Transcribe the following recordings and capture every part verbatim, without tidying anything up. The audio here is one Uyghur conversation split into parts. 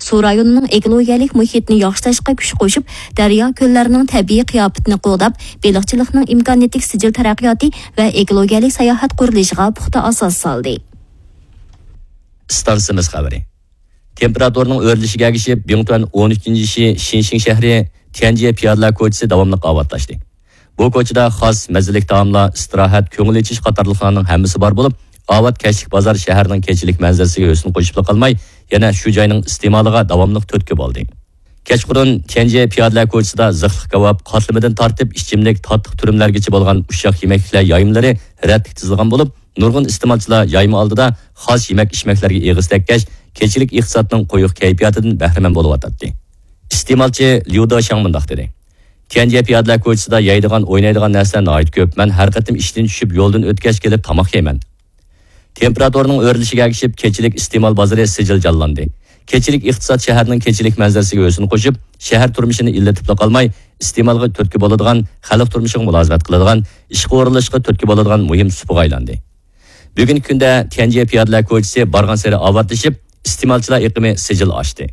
سۇ رايونىنىڭ ئېكولوگىيەلىك مۇھىتنى ياخشىلاشقا كۈچ قوشۇپ، دەريا، كۆللەرنىڭ تەبىئىي قىياپىتىنى قوغداپ، بېلىقچىلىقنىڭ ئىمكانىيىتىگە سىجىل تەرەققىياتى ۋە ئېكولوگىيەلىك ساياھەت قۇرۇلۇشىغا پۇختا ئاساس سالدى. ئىستانسىمىز خەۋىرى. تېمپېراتۇرىنىڭ ئۆرلىشىگە ئەگىشىپ، بىڭتۈەن ئون ئۈچىنچى شى شىنشىڭ شەھىرى تيەنجيې پىيادىلەر كوچىسى داۋاملىق ئاۋاتلاشتى. بۇ كوچىدا خاس، مەززىلىك تائاملار، ئىستىراھەت، كۆڭۈل ئېچىش قاتارلىقلارنىڭ ھەممىسى بار بولۇپ، ئاۋات كەچلىك بازار شەھەرنىڭ كېچىلىك مەنزىرىسىگە ھۆسن قوشۇپلا قالماي، يەنە شۇ جاينىڭ ئىستېمالىغا داۋاملىق تۈرتكە بولدى. كەچقۇرۇن تيەنجيې پىيادىلەر كوچىسىدا زىخلىق كاۋاپ، قاتلىمىدىن تارتىپ ئىچىملىك، تاتلىق تۈرۈملەرگىچە بولغان ئۇششاق يېمەكلىكلەر يايمىلىرى رەتلىك تىزىلغان بولۇپ، نۇرغۇن ئىستېمالچىلار يايما ئالدىدا خاس يېمەك-ئىچمەكلەرگە ئېغىز تەگكەچ، كېچىلىك ئىقتىسادنىڭ قويۇق كەيپىياتىدىن بەھرىمەن بولۇۋاتاتتى. ئىستېمالچى ليۇ دېشياڭ مۇنداق دېدى: تيەنجيې پىيادىلەر كوچىسىدا يەيدىغان، ئوينايدىغان نەرسىلەر ناھايىتى كۆپ. مەن ھەر قېتىم ئىشتىن چۈشۈپ، يولدىن ئۆتكەچ كېلىپ تاماق يەيمەن. تېمپېراتۇرىنىڭ ئۆرلىشىگە ئەگىشىپ، كېچىلىك ئىستېمال بازىرى سىجىل جانلاندى. كېچىلىك ئىقتىساد شەھەرنىڭ كېچىلىك مەنزىرىسىگە ھۆسن قوشۇپ، شەھەر تۇرمۇشىنى ئىللىتىپلا قالماي، ئىستېمالغا تۈرتكە بولىدىغان، خەلق تۇرمۇشىغا مۇلازىمەت قىلىدىغان، ئىشقا ئورۇنلىشىشقا تۈرتكە بولىدىغان مۇھىم سۇپىغا ئايلاندى. بۈگۈنكى كۈندە تيەنجيې پىيادىلەر كوچىسى بارغانسېرى ئاۋاتلىشىپ، ئىستېمالچىلار ئېقىمى سىجىل ئاشتى.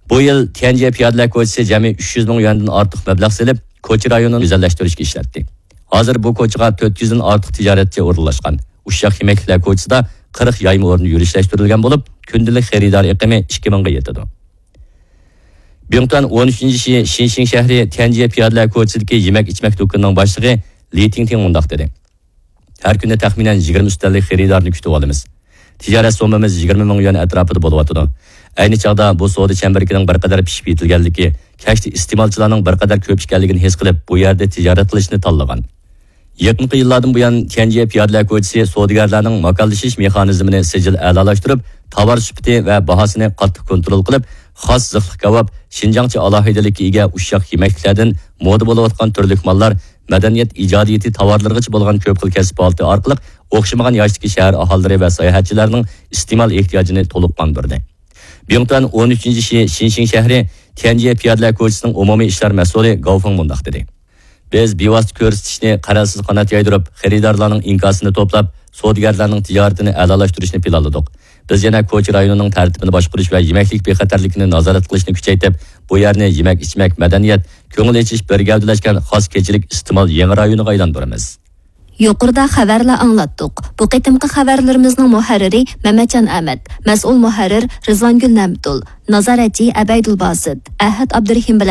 بۇ يىل تيەنجيې پىيادىلەر كوچىسى جەمئىي ئۈچ يۈز مىڭ يۈەندىن ئارتۇق مەبلەغ سېلىپ، كوچا رايونىنى گۈزەللەشتۈرۈشكە ئىشلەتتى. ھازىر بۇ كوچىغا تۆت يۈزدىن ئارتۇق تىجارەتچى ئورۇنلاشقان. ئۇششاق يېمەكلىكلەر كوچىسىدا قىرىق يايما ئورنى يۈرۈشلەشتۈرۈلگەن بولۇپ، كۈندىلىك خېرىدار ئېقىمى ئىككى مىڭغا يېتىدۇ. بىڭتۈەن ئون ئۈچىنچى شى شىنشىڭ شەھىرى تيەنجيې پىيادىلەر كوچىسىدىكى يېمەك-ئىچمەك دۇكىنىنىڭ باشلىقى لى تىڭتىڭ مۇنداق دېدى: ھەر كۈنى تەخمىنەن يىگىرمە ئۈستەللىك خېرىدارنى كۈتۈۋالىمىز. تىجارەت سوممىمىز يىگىرمە مىڭ يۈەن ئەتراپىدا بولۇۋاتىدۇ. ئەينى چاغدا بۇ سودا چەمبىرىكىنىڭ بىر قەدەر پىشىپ يېتىلگەنلىكى، كەچتە ئىستېمالچىلارنىڭ بىر قەدەر كۆپ ئىكەنلىكىنى ھېس قىلىپ، بۇ يەردە تىجارەت قىلىشنى تاللىغان. يېقىنقى يىللاردىن بۇيان، تيەنجيې پىيادىلەر كوچىسى سودىگەرلەرنىڭ ماكانلىشىش مېخانىزمىنى سىجىل ئەلالاشتۇرۇپ، تاۋار سۈپىتى ۋە باھاسىنى قاتتىق كونترول قىلىپ، خاس زىخلىق كاۋاپ، شىنجاڭچە ئالاھىدىلىككە ئىگە ئۇششاق يېمەكلىكلەردىن مودا بولۇۋاتقان تۈرلۈك ماللار، مەدەنىيەت ئىجادىيىتى تاۋارلىرىغىچە بولغان كۆپ خىل كەسىپ پائالىيىتى ئارقىلىق ئوخشىمىغان ياشتىكى شەھەر ئاھالىلىرى ۋە ساياھەتچىلەرنىڭ ئىستېمال ئېھتىياجىنى تولۇق قاندۇردى. بىڭتۈەن ئون ئۈچىنچى شى شىنشىڭ شەھىرى تيەنجيې پىيادىلەر كوچىسىنىڭ ئومۇمىي ئىشلار مەسئۇلى گاۋ فېڭ مۇنداق دېدى: بىز بىۋاسىتە كۆرسىتىشنى قەرەلسىز قانات يايدۇرۇپ، خېرىدارلارنىڭ ئىنكاسىنى توپلاپ، سودىگەرلەرنىڭ تىجارىتىنى ئەلالاشتۇرۇشنى پىلانلىدۇق. بىز يەنە كوچا رايونىنىڭ تەرتىپىنى باشقۇرۇش ۋە يېمەكلىك بىخەتەرلىكىنى نازارەت قىلىشنى كۈچەيتىپ، بۇ يەرنى يېمەك-ئىچمەك، مەدەنىيەت، كۆڭۈل ئېچىش بىر گەۋدىلەشكەن خاس كېچىلىك ئىستېمال يېڭى رايونىغا ئايلاندۇرىمىز. يۇقىرىدا خەۋەرلەر ئاڭلاتتۇق. بۇ قېتىمقى خەۋەرلىرىمىزنىڭ مۇھەررىرى مەمەتجان ئەمەت، مەسئۇل مۇھەررىر رىزۋانگۈل نەمتۇل، نازارەتچى ئەبەيدۇل باسىت، ئەھەت ئابدۇرېھىم بىلەن